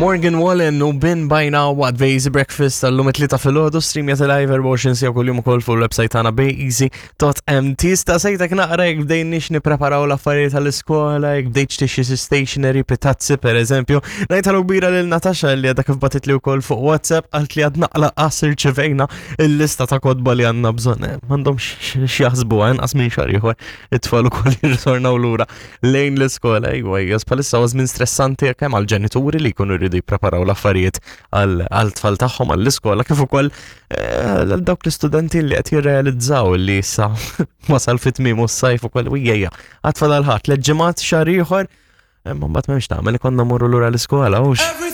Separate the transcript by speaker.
Speaker 1: Morgan Wallen u Bin By Now waqt Base Breakfast tal-lum it-tlieta filgħodu streamja live 24 sija kuljum ukoll fuq il-website tagħna beeasy.mt. Staqsejtek naqra jekk bdejniex nippreparaw l-affarijiet tal-iskola, jekk bdejtx tixxi xi stationery, pitazzi pereżempju. Ngħid ħallu kbira lil Natasha li għadha kif bagħtitli wkoll fuq WhatsApp qalt li għad naqla qas irċivejna il-lista ta' kotba li għandna bżonn. Eh, m'għandhomx x'jaħsbu eh, inqas minn xahar ieħor it-tfal ukoll jirritornaw lura lejn l-iskola, iwa, hija bħalissa huwa żmien stressanti kemm għall-ġenituri li jkunu jridu jippreparaw l-affarijiet għal-tfal tagħhom għall-iskola kif ukoll eh, għal dawk l-istudenti li qed jirrealizzaw li issa wasal fit-tmiem u s-sajf ukoll u jgħja. Għatfal għal ħadd, leġġimat xahar ieħor, imma mbagħad m'hemmx tagħmel ikonna morru lura l-iskola hux.